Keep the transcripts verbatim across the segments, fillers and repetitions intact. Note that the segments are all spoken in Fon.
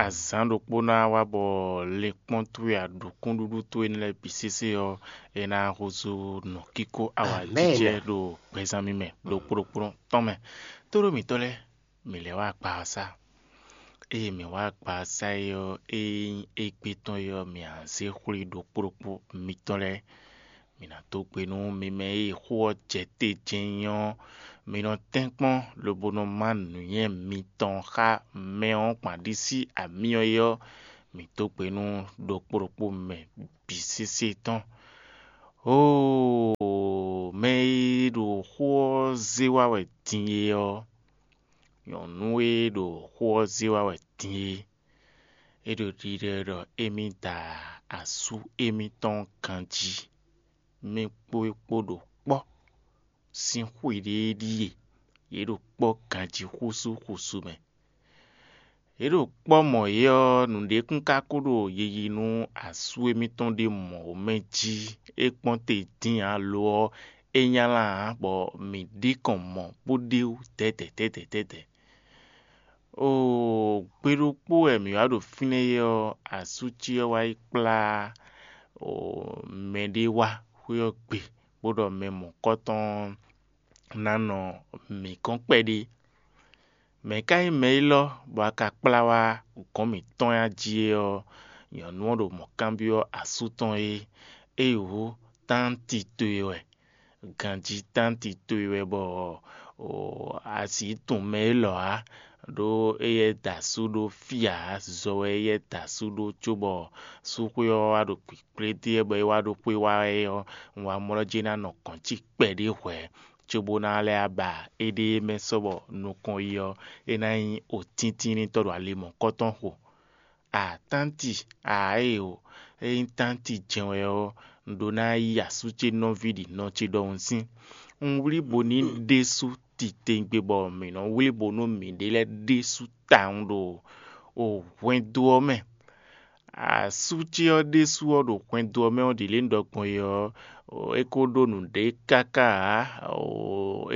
Azǎn ɖokpó ná wá bɔ linkpɔ́n towe aɖǔkúnɖúɖú towe énɛ́ lɛ́ɛ bǐ sésé ɔ́, é ná húzú nǔkíkó awǎjijɛ ɖo gbɛzán mímɛ ɖokpó ɖokpó tɔn mɛ. Tóɖó mǐtɔn lɛ́ɛ, mǐ lɛ́ wá agbaxɔsá. Ée mǐ wá agbaxɔsá é ɔ́, ée nyí égbé tɔn é ɔ́, mǐ a zě xwlí ɖokpó ɖokpó mitɔn lɛ́ɛ. Mǐ ná dó gbe nú mi mɛ e xó ɔ́ jɛ te jɛ́n nyí ɔ́, mi nɔ tɛ́nkpɔ́n lobo nɔ má nǔnywɛ́ mitɔn xá mɛ ɔ́ kpan ɖi sí amyɔ é ɔ́, mǐ dó gbe nú ɖokpó ɖokpó mɛ bǐ sésé tɔn. Oo, mɛ e ɖo xó ɔ́ zé wá wɛ din é ɔ́, nyɔ̌nu e ɖo xó ɔ́ zé wá wɛ din é, é ɖo ɖiɖɔ ɖɔ émí da asú émítɔn ganjí. Mɛ kpó é kpó ɖo kpɔ́ sín xwe ɖé ɖíe; yě ɖo kpɔ́ ganjí xúsú xúsú mɛ. Yě ɖo kpɔ́ mɔ é ɔ́, nǔɖé kún ka ko ɖo yiyi nú asú émítɔn ɖé mɔ̌ mɛ jí; é kpɔ́n te dín ǎ; lo ɔ́, é nylá ǎ, bɔ mǐ ɖi kɔn mɔ̌ bó ɖe wú dɛ̌dɛ̌ dɛ̌dɛ̌ dɛ̌dɛ̌. Oo, gbe ɖokpó wɛ mǐ wá ɖo fínɛ́ é ɔ́, asú ce ɔ́ wá yi kplá mɛɖé wá xwé ɔ́ gbe, bó ɖɔ mɛ mɔ̌kɔtɔn ná nɔ mǐ gɔ́n kpɛɖé. Mɛ̌ ka nyí mɛ élɔ́ bɔ a ka kplá wá gɔ̌n mǐtɔn jí é ɔ́? Nyɔ̌nu ɔ́ ɖo mɔ̌ kanbyɔ́ asú tɔn é. Éyǒ, tánti towe wɛ, ganjí tánti towe wɛ bɔ a sǐ tunwun mɛ élɔ́ ǎ, ɖó éyɛ́ da asú ɖó fí ǎ; zɔ wɛ éyɛ́ da asú ɖó cóbɔ súxwé ɔ́ wá ɖo kpǐkplé dó e bɔ é wá ɖó xwé wá é ɔ́, un wá mlɔ́ jí ná nɔ gɔ̌n cí kpɛɖé hwɛ̌, cóbó ná lɛ́ ba éɖée mɛ sɔ́ bɔ nukɔn yi ɔ́, é ná nyí otíntínnítɔ́ ɖo ali mɔ̌kɔtɔn xo. Atánti, ǎ e o, ényí tánti jɛ́n wɛ ɔ́, un ɖó ná yí asú ce nɔví ɖi nɔ ce ɖɔhun sín. Un wlí bo ní ɖésú titewungbe bɔ mǐ nɔ wlí bo nú mǐɖée lɛ́ɛ ɖésú tawun ɖo hwɛndo ɔ́ mɛ. Asú ce ɔ́ ɖésú ɔ́ ɖo hwɛndo ɔ́ mɛ ɔ́ ɖi lě un ɖɔ gbɔn é ɔ́, é ko ɖó nǔɖé káká ǎ;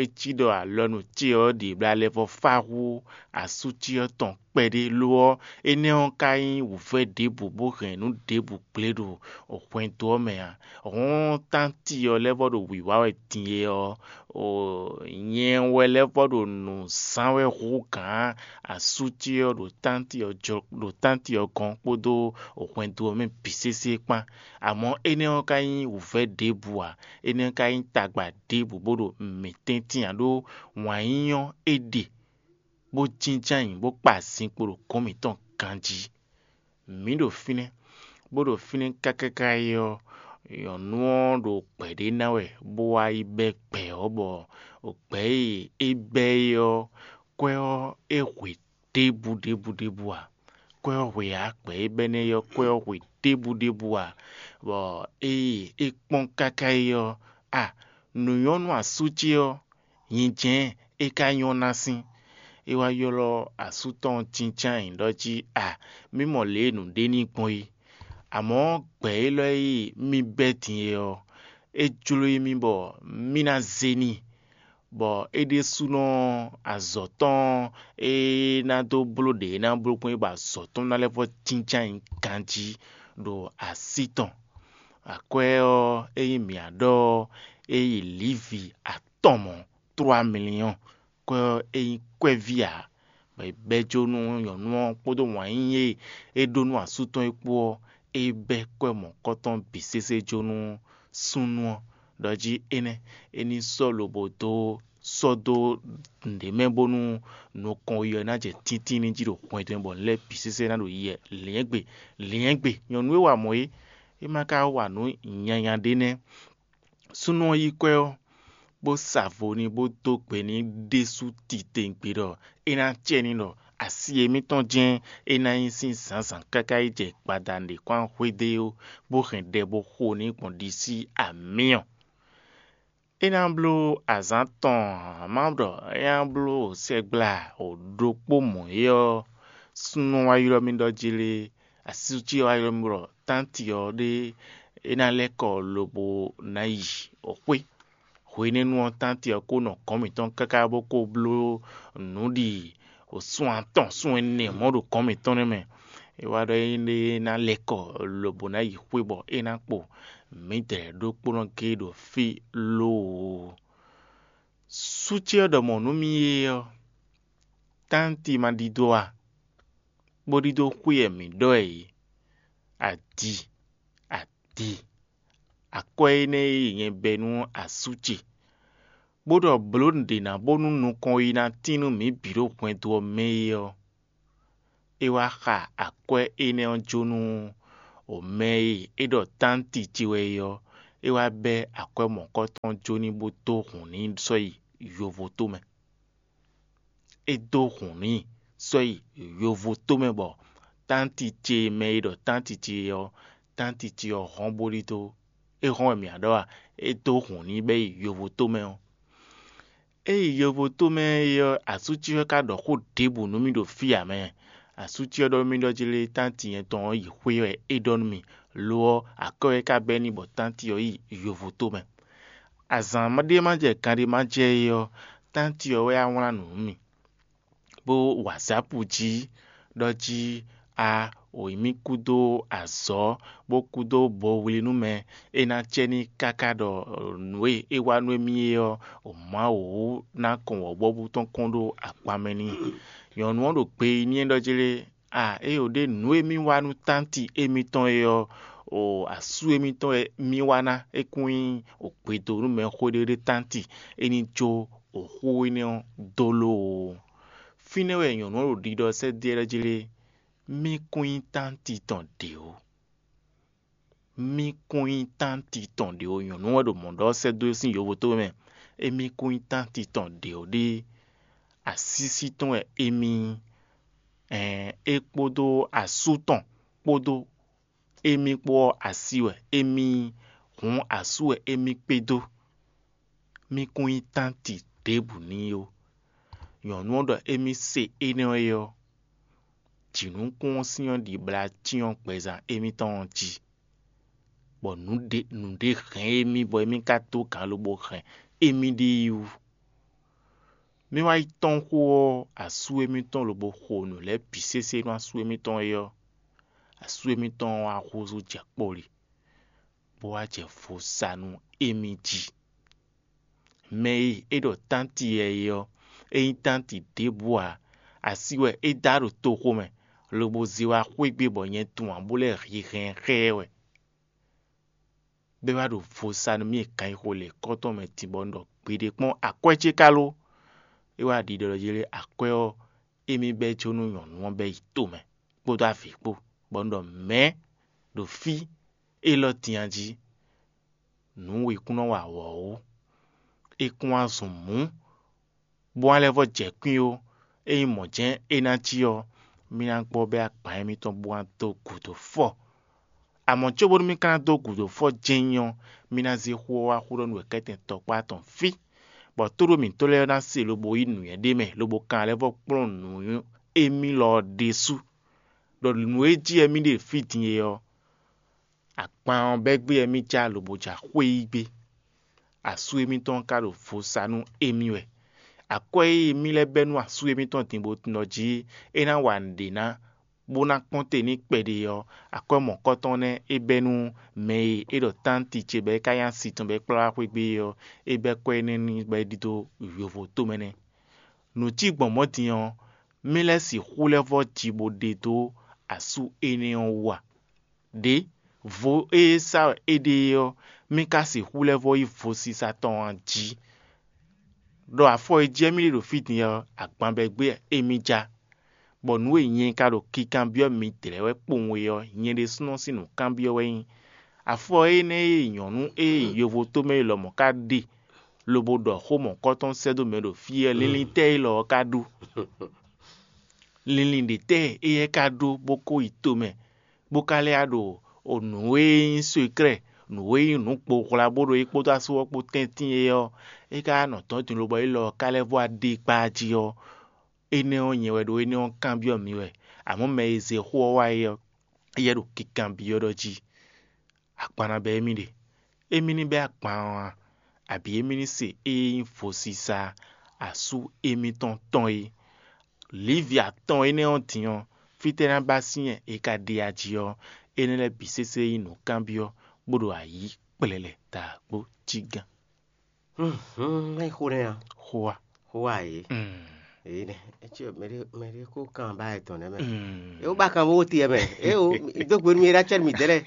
é cí ɖɔ alɔnu ce ɔ́ ɖi blá lɛ́ vɔ́ fá hú asú ce ɔ́ tɔn kpɛɖé; lo ɔ́, énɛ́ ɔ́ ka nyí wǔvɛ́ ɖěbǔ bó hɛn nǔ ɖěbǔ gblé ɖo hwɛndo ɔ́ mɛ ǎ. Hɔ̌n tánti ɔ́ lɛ́ vɔ́ ɖo wǐwá wɛ din é ɔ́, nyɛ wɛ lɛ́ vɔ́ ɖo nǔ zán wɛ hú gǎn asú ce ɔ́ ɖo tánti ɔ́ jɔ ɖo tánti ɔ́ gɔ́n kpódó hwɛndo ɔ́ mɛ bǐ sésé kpán. Amɔ̌ énɛ́ ɔ́ ka nyí wǔvɛ́ ɖěbǔ ǎ; énɛ́ ɔ́ ka nyí tagba ɖěbǔ bó ɖo mǐ tɛ́ntin ǎ, ɖó wǎn yíyí ɔ́ é ɖe, bó jínjɔ́n ayǐ bó kpa zinkpo ɖo gɔ̌n mǐtɔn ganjí. Mǐ ɖo fínɛ́, bó ɖo fínɛ́ káká é ɔ́, nyɔ̌nu ɔ́ ɖo gbɛ̌ ɖé ná wɛ bó wá yi bɛ́ gbɛ̌ ɔ́, bɔ gbɛ̌ e é bɛ́ é ɔ́, kwɛ́ ɔ́ é hwe ɖěbǔ ɖěbǔ ɖěbǔ ǎ. Kwɛ́ ɔ́ hwe ǎ, gbɛ̌ e bɛ́ nɛ́ é ɔ́, kwɛ́ ɔ́ hwe ɖěbǔ ɖěbǔ ǎ, bɔ ée é kpɔ́n káká é ɔ́, a nǔ nyɔ́ nú asú ce ɔ́, nyijɛ́n é ka nyɔ́ ná sín. É wá ylɔ́ asú tɔn ɔ́ jínjɔ́n ayǐ ɖɔ jí, a mǐ mɔ lě e nǔɖé ní gbɔn é. Amɔ̌ gbɛ̌ élɔ́ e mì bɛ́ din é ɔ́, é jló émí bɔ mì ná zé n'i, bɔ é ɖésúnɔ azɔ̌ tɔn e ná dó bló ɖě é ná bló gbɔn é bɔ azɔ̌ tɔn ná lɛ́ vɔ́ jínjɔ́n ayǐ ganjí ɖo así tɔn. Akwɛ́ ɔ́, ényí mǐ a ɖɔ ɔ́, é yi lǐvi atɔn mɔ̌, tló amliyɔ́n. Kwɛ́ ɔ́, é nyí kwɛ́ví ǎ, bɔ è bɛ́ jó nú nyɔ̌nu ɔ́ kpódó wǎn yíyí e é ɖó nú asú tɔn é kpó ɔ́, é bɛ́ kwɛ́ mɔ̌kɔtɔn bǐ sésé jó nú súnnu ɔ́, ɖɔ jí énɛ́ é ní sɔ́ lobo dó sɔ́ dó nǔɖé mɛ bónú nukɔn yi ɔ́ ná jɛ tíntín ní jí ɖo hwɛndo mɛ bɔ nǔ lɛ́ɛ bǐ sésé ná ɖo yi wɛ. Lǐnyɛ́gbe, lǐnyɛ́gbe, nyɔ̌nu e wa mɔ̌ é, é ma ka wa nǔ nyanya ɖé nɛ́. Súnnu ɔ́ yí kwɛ́ ɔ́, bó sa vo n'i, bó dó gbe n'i ɖésú titewungbe ɖɔ é ná acɛ n'i ɖɔ asi émítɔn jɛ́n é ná nyí sín zǎnzǎn káká yi jɛ gbada nǔɖé kɔn xwedó é ó, bó hɛn ɖɛ bó xo n'i gbɔn ɖisí amyɔ. É ná bló azǎn tɔn ǎ, má ɖɔ é ná bló sɛgbla ɖokpó mɔ̌ é ɔ́, súnnu wá ylɔ́ mì ɖɔ jí lé, asú ce wá ylɔ́ mì ɖɔ tánti ɔ́ ɖé é ná lɛ́ kɔ lobo ná yi xwé. Hwenɛ́nu ɔ́, tánti ɔ́ ko nɔ gɔ̌n mǐtɔn káká bó ko bló nǔ ɖi sun atɔn sun ɛnɛ mɔ̌ ɖo gɔ̌n mǐtɔn nɛ́ mɛ. É wá ɖɔ é ná lɛ́ kɔ lobo ná yi xwé bɔ é ná kpo mǐdɛɛ ɖokpónɔ géé ɖo fí lóoo. Sú ce ɔ́ ɖɔ mɔ̌ nú mì é ɔ́, tánti ma ɖidó a? Bó ɖidó xwé wɛ mǐ ɖɔ ɛ é. Adi, adi, akwɛ́ énɛ́ e nyɛ bɛ́ nú asú ce, bó ɖɔ blǒ nǔɖé ná bónú nukɔn yi ná tín nú mǐ bǐ ɖo hwɛndo ɔ́ mɛ é ɔ́, é wá xa akwɛ́ énɛ́ ɔ́ jó nú mɛ e é ɖɔ tánti ce wɛ é ɔ́, é wá bɛ́ akwɛ́ mɔ̌kɔtɔn ɔ́ jó n'i bó dó hǔn n'i sɔ́ yi yovoto mɛ. É dó hǔn n'i sɔ́ yi yovoto mɛ bɔ tánti ce mɛ e ɖɔ tánti ce ɔ́, tánti ce ɔ́ hɔn bó ɖidó. É hɔn wɛ mǐ ɖɔ a? É dó hǔn n'i bɛ́ yi yovoto mɛ ɔ́. É yi yovoto mɛ é ɔ́, asú ce ɔ́ ka ɖɔ xó ɖěbǔ nú mì ɖo fí ǎ mɛ. Asú ce ɔ́ ɖɔ nú mì ɖɔ jí lé tánti nyɛ tɔn ɔ́ yi xwé wɛ é ɖɔ nú mì, lo ɔ́, akwɛ́ wɛ é ka bɛ́ n'i bɔ tánti ɔ́ yi yovoto mɛ. Azǎn ɖé ma jɛ gan ɖé ma jɛ é ɔ́, tánti ɔ́ wɛ wá wlán nǔ nú mì, bó WhatsApp jí ɖɔ jí a wǒ mì kúdó azɔ̌, bó kúdó bowlí nú mɛ, é ná cɛ ní káká ɖɔ nǔ e é wa nú émí é ɔ́, Mawu ná kɔn wɔ̌buwɔ́bú tɔn kɔn ɖó akpan mɛ n'i. Nyɔ̌nu ɔ́ ɖo gbe yi n'i ɖɔ jí lé, a éyo ɖé nǔ e mì wa nú tánti émítɔn é ɔ́, o asú émítɔn wɛ mì wa ná, é kún nyí o gbedo nú mɛ xwéɖéɖé tánti, é ní jó o xó énɛ́ ɔ́ dó lóoo. Fínɛ́ wɛ nyɔ̌nu ɔ́ ɖo ɖiɖɔ sɛ́ dó ɛ jí lé, mì kún nyí tánti tɔn ɖě ó. Mì kún nyí tánti tɔn ɖě ó. Nyɔ̌nu wɛ ɖo mɔ̌ ɖɔ sɛ́ dó sín yovo tó mɛ. Émí kún nyí tánti tɔn ɖě ó ɖé. Asísí tɔn wɛ émí nyí. Ɛn é kpódó asú tɔn kpódó émí kpó ɔ́, así wɛ émí nyí. Hǔn asú wɛ émí kpé dó. Mì kún nyí tánti ɖěbǔ n'i ó. Nyɔ̌nu ɔ́ ɖɔ émí se énɛ́ ɔ́ é ɔ́, jǐnukún ɔ́ sín ɔ́ ɖi blá cyɔ́n gbɛzán émítɔn ɔ́ jí, bɔ nǔɖé nǔɖé hɛn émí bɔ émí ka dó gǎn lobo hɛn émí ɖée yi wú. Mì wá yi tɔ́n xó ɔ́, asú émítɔn lobo xo nǔ lɛ́ɛ bǐ sésé nú asú émítɔn é ɔ́, asú émítɔn ɔ́ wá húzú jɛ kpɔ́li, bó wá jɛ vo sa nú émí jí. Mɛ e é ɖɔ tánti wɛ é ɔ́, é nyí tánti ɖěbǔ ǎ; así wɛ é dá ɖo toxo mɛ, lobo zé wá xwé gbe bɔ nyɛ tunwun ǎ bó lɛ́ hihɛn xá ɛ wɛ. Bɔ é wá ɖo vo sa nú mì e kanxixo lě kɔ́tɔn mɛ din bɔ un ɖɔ gbeɖé kpɔ́n akwɛ́ ce ka lo? É wá ɖiɖɔ ɖɔ jí lé akwɛ́ ɔ́, émí bɛ́ jó nú nyɔ̌nu ɔ́ bɛ́ yi tomɛ kpódó avǐ kpó, bɔ un ɖɔ mɛ̌ ɖo fí élɔ́ din a jí. Nǔ wěkún nɔ wa wɔ̌ ó. É kún wá zun mǔ, bó wá lɛ́ vɔ́ jɛ kwín ó. Ényí mɔ̌ jɛ́n é ná cí ɔ́, mì ná gbɔ bɛ́ agban émítɔn bó wá dó gǔdo fɔ. Amɔ̌ cóbónú mì ka ná dó gǔdo fɔ jɛ́n nyí ɔ́, mì ná zé xó ɔ́ wá xó ɖɔ nú wěkɛ́tɛn tɔkpá tɔn fí, bɔ tóɖó mǐtɔn lɛ́ɛ ná se lobo yí nǔnywɛ́ ɖé mɛ lobo kan lɛ́ vɔ́ kplɔ́n nǔ émí lɔ ɔ́ ɖésú, ɖɔ nǔ e jí wɛ mì ɖe fí din é ɔ́, akpan ɔ́ bɛ́ gbé wɛ mì já lobo ja xwé yí gbé. Asú émítɔn ka ɖo vo sa nú émí wɛ. Akwɛ́ e mì lɛ́ bɛ́ nú asú émítɔn din bó tunwun ɖɔ jí é ná wa nǔɖé ná, bó ná kpɔ́n te n'i kpɛɖé ɔ́, akwɛ́ mɔ̌kɔtɔn nɛ́ é bɛ́ nú mɛ e é ɖɔ tánti ce bɔ é ka nyí asi tɔn bɔ é kplá wá xwé gbé é ɔ́, é bɛ́ kwɛ́ énɛ́ n'i bɔ é ɖidó yovo tomɛ nɛ́. Nǔ cí gbɔn mɔ̌ din ɔ́, mì lɛ́ sixú lɛ́ vɔ́ ji bó ɖe dó asú énɛ́ ɔ́ wú a? Ɖě, vo e é sa wɛ é ɖe é ɔ́, mì ka sixú lɛ́ vɔ́ yí vo sisa tɔn a jí? Ɖɔ afɔ e jɛ mì ɖe ɖo fí din ɔ́, agban bɛ́ gbé émí já, bɔ nǔ e nyɛ ka ɖo kinkanbyɔ́ midlɛ́ wɛ kpowun é ɔ́, nyɛ ɖésúnɔ sín nǔkanbyɔ́ wɛ nyí. Afɔ énɛ́ e nyɔ̌nu e nyi yovo tomɛ élɔ́ mɔ̌ ka ɖe lobo ɖɔ xó mɔ̌kɔtɔn sɛ́ dó mɛ ɖo fí ɔ́, linlin tɛ́ élɔ́ ɔ́ ka ɖó? Linlin ɖě tɛ́ éyɛ́ ka ɖó bó ko yi tomɛ, bó ka lɛ́ wá ɖo nǔ e nyí sekrɛ́, nǔ e nyí nǔ kpo hwla bó ɖo é kpódó asú ɔ́ kpó tɛ́ntin é ɔ́, é ka nɔ dɔ̌n din lobo élɔ́ ɔ́ ka lɛ́ vɔ́ wá ɖe kpá jí ɔ́, énɛ́ ɔ́ nyɛ wɛ ɖó énɛ́ ɔ́ kanbyɔ́ mi wɛ. Amɔ̌ mɛ e zé xó ɔ́ wá é ɔ́, éyɛ́ ɖo kinkanbyɔ́ ɖɔ jí: Akpan ná bɛ́ émí ɖe? Émí ní bɛ́ akpan ɔ́ a? Abǐ émí ní se ée nyí vo sisa asú émítɔn tɔn é? Lǐvi atɔn énɛ́ ɔ́ din ɔ́, fítɛ́ ná ba sín yɛ è ka ɖe ají ɔ́, énɛ́ lɛ́ɛ bǐ sésé nyí nǔkanbyɔ́, bó ɖo ayǐ kplɛlɛ daagbó cí gán. Hum, hum, é xo nɛ́ a? Xo a? Xo a yě? Mm. Yě nɛ. Etsɛ mɛ ɖé mɛ ɖé kó kan ba etɔn nɛ mɛ. Mm. Yóò ba kan bó te mɛ. É o, dó gbe nú mi ɖá cɛ mi dɛ lɛ.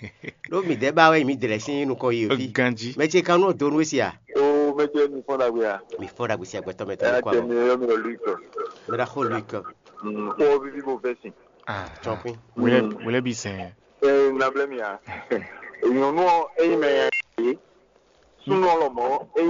Ɖó mi dɛ ba wɛ mi dɛ lɛ sín nukɔn yi o fi. Ganji. Mɛ ce kan nú do nú esi a? O mɛ ce mi fɔn dagbe a? Mi fɔ dagbe si agbɛtɔ mɛ tɔ Ɛ nukɔ tɛ mi yɔ mi lɔ lui kɔ. Mɛ ɖa xo lui kɔ. Mm, xo vivi bo vɛ si. Ah, Tsɔkpin. Wele wele bi sɛn. Ɛ nablɛ mi a? Nyɔnu ɔ eyi mɛ ya ye. Sunɔ lɔ mɔ eyi